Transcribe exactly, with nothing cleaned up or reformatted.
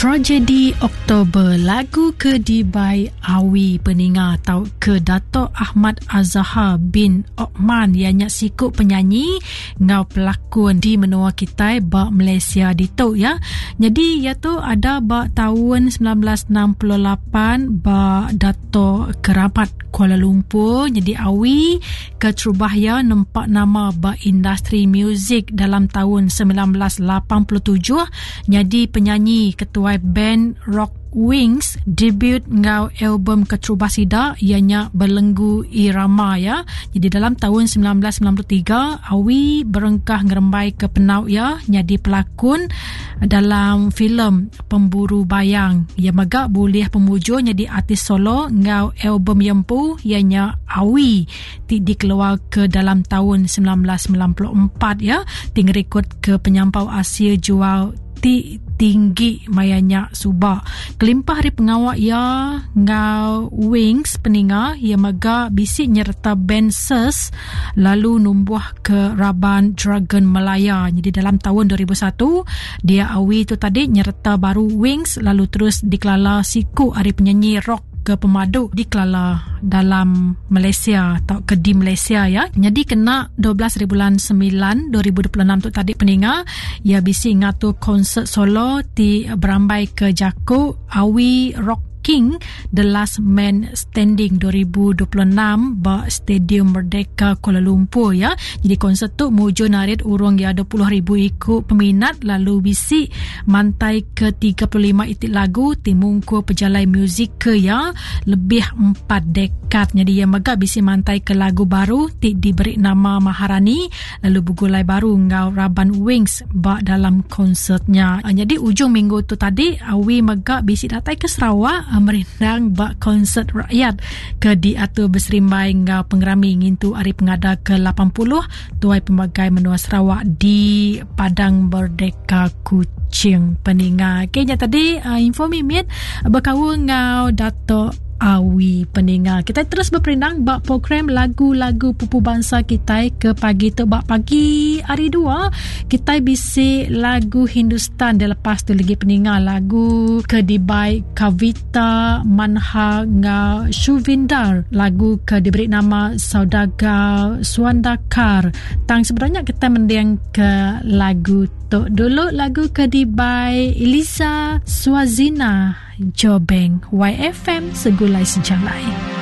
Tragedi Oktober lagu ke dibai Awi peninga tau ke Dato' Ahmad Azhar bin Othman ianya siku penyanyi ngau pelakon di menua kita ba Malaysia ditu ya. Jadi ia tu ada ba tahun sembilan belas enam puluh lapan ba Dato' Keramat Kuala Lumpur. Jadi Awi keterubah ya nempak nama ba industri muzik dalam tahun sembilan belas lapan puluh tujuh jadi penyanyi ketua band Rock Wings debut ngau album keterubah sida ianya Belenggu Irama ya. Jadi dalam tahun sembilan belas sembilan puluh tiga Awi berengkah ngerembai ke penau ya jadi pelakon dalam filem Pemburu Bayang. Ia megak boleh pemujur jadi artis solo ngau album yempu ianya Awi ti dikeluar ke dalam tahun sembilan belas sembilan puluh empat ya. Ting rekod ke penyampau Asia jual ti tinggi mayanya subak. Kelimpah hari pengawak ia ngau Wings peninga ia mega bisi nyerta band S E S lalu numbuh ke Raban Dragon Malaya. Jadi dalam tahun dua ribu satu dia Awi tu tadi nyerta baru Wings lalu terus dikelala siku hari penyanyi rock ke pemadu dikelala dalam Malaysia atau ke di Malaysia ya. Jadi kena dua belas hari bulan sembilan dua ribu dua puluh enam tu tadi peninga ia bisi ngatur konsert solo ti berambai ke Jaku Awi Rock King The Last Man Standing dua ribu dua puluh enam ba Stadium Merdeka Kuala Lumpur ya. Jadi konsert tu mujur narit urung ya dua puluh ribu ikut peminat lalu bisi mantai ke tiga puluh lima itik lagu ti mungkur pejalai muzik ke ya lebih empat dekad. Jadi ia mega bisi mantai ke lagu baru ti diberi nama Maharani lalu bergulai baru ngau Raban Wings ba dalam konsertnya. Jadi ujung minggu tu tadi Awi mega bisi datai ke Sarawak merindang bak konsert rakyat ke diatur berserimbai ngau pengerami ngintu hari pengada ke lapan puluh tuai pemagai menua Sarawak di Padang Merdeka Kuching peninga. Okey, nya tadi uh, info mimit berkaul ngau Dato' Awi peninga. Kita terus berperindang bak program lagu-lagu pupu bangsa kita ke pagi tu bak pagi hari dua kita bisi lagu Hindustan dia lepas tu lagi peninga lagu ke dibai Kavita Manha ngau Shuvindar lagu ke diberi nama Saudagar Suandakar. Tang sebenarnya kita mending ke lagu tu dulu lagu ke dibai Elisa Suazina Jobeng Y F M Segulai Sejalai.